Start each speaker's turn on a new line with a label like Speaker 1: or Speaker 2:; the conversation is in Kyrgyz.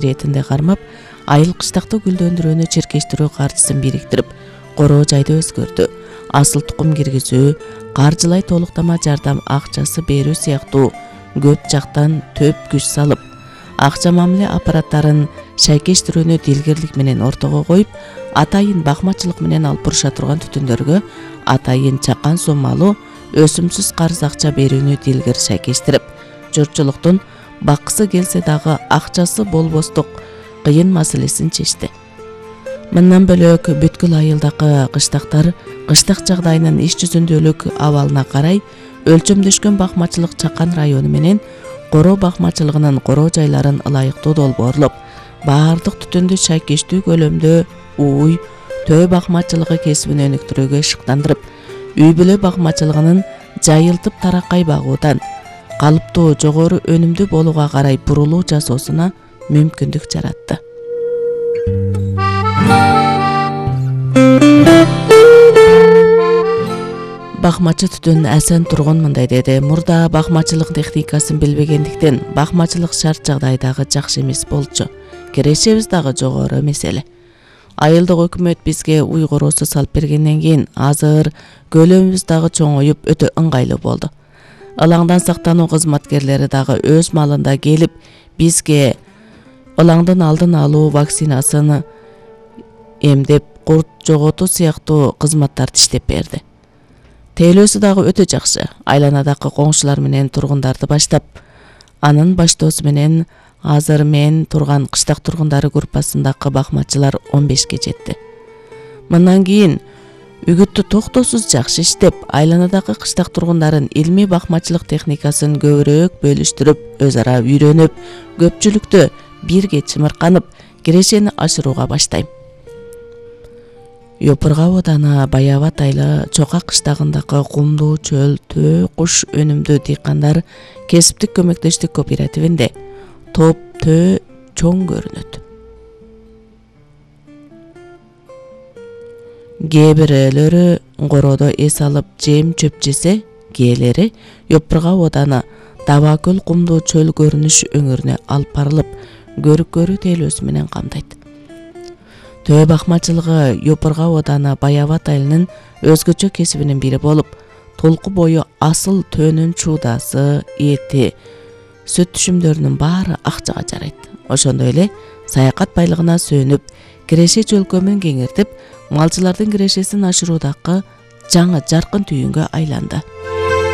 Speaker 1: иретинде кармап, айыл кыштакты гүлдөндүрүүнү чиркештирүү каржысын бириктирип, короо жайды өзгөртүү, асыл тукум киргизүү, каржылай толуктама жардам акчасы берүү сыяктуу көп жактан төп күч салып, акча мамиле аппараттарын шайкештирүүнү дилгерлик менен ортого коюп, атайын бакмачылык менен алып буруша турган түтүндөргө атайын чакан суммалуу өсүмсүз карыз акча берүүнү дилгер шайкештирип, журтчулуктун баккысы келсе дагы акчасы болбостук кыйын маселесин чечти. Мындан бөлөк бүткүл айылдагы кыштактар кыштак жагдайынын иш жүзүндөлүк абалына карай өлчөмдөшкөн бакмачылык чакан району менен короо бакмачылыгынын короо жайларын ылайыктуу долбоорлоп, баардык түтүндү шайкештүү көлөмдө ууй, төө бакмачылыгы кесибин өнүктүрүүгө шыктандырып, үй бүлө бакмачылыгынын жайылтып тараккай багуудан калыптуу жогору өнүмдүү болууга карай бурулуу жасоосуна мүмкүндүк жаратты. Бакмачы түтүн Асан Тургун мындай деди: мурда бакмачылык техникасын билбегендиктен бакмачылык шарт жагдайдагы жакшы эмес болчу. Кирешебиз дагы жогору эмес эле. Айылдык өкмөт бизге уй короосу салып бергенден кийин азыр көлөмүбүз дагы чоңоюп өтө ыңгайлуу болду. Ылаңдан сактануу кызматкерлери дагы өз малында келип бизге ылаңдын алдын алуу вакцинасын эмдеп, курт жоготуу сыяктуу кызматтарды иштеп берди. Тейлөөсү дагы өтө жакшы. Айланадагы коңшулар менен тургундарды баштап, анын баштоосу менен азыр мен турган кыштак тургундары группасындагы бакмачылар 15ке жетти. Мындан кийин үгүттү токтоосуз жакшы иштеп, айланадагы кыштак тургундарын илмий бакмачылык техникасын көбүрөөк бөлүштүрүп, өз ара үйрөнүп, көпчүлүктө бирге чымырканып, кирешени ашырууга баштайм. Йопурга ооданы Баябат айылы Чока кыштагындагы кумдуу чөл төө куш өнүмдүү дыйкандар кесиптик көмөктөштүк кооперативинде топ төө чоң көрүнөт. Кээ бирөөлөрү короодо эс алып жем чөп жесе, кээлери Йопурга ооданы Даба көл кумдуу чөл көрүнүш өңүрүнө алып барылып, көрүккөрүү тейлөөсү менен камдайт. Төө бакмачылыгы Йопурга ооданы Баябат айылынын өзгөчө кесибинин бири болуп, толку бою асыл төөнүн чуудасы, эти, сүт түшүмдөрүнүн баары акчага жарайт. Ошондой эле саякат байлыгына сөөнүп, киреше чөлкөмүн кеңиртип, малчылардын кирешесин ашыруудагы жаңы жаркын түйүнгө айланды.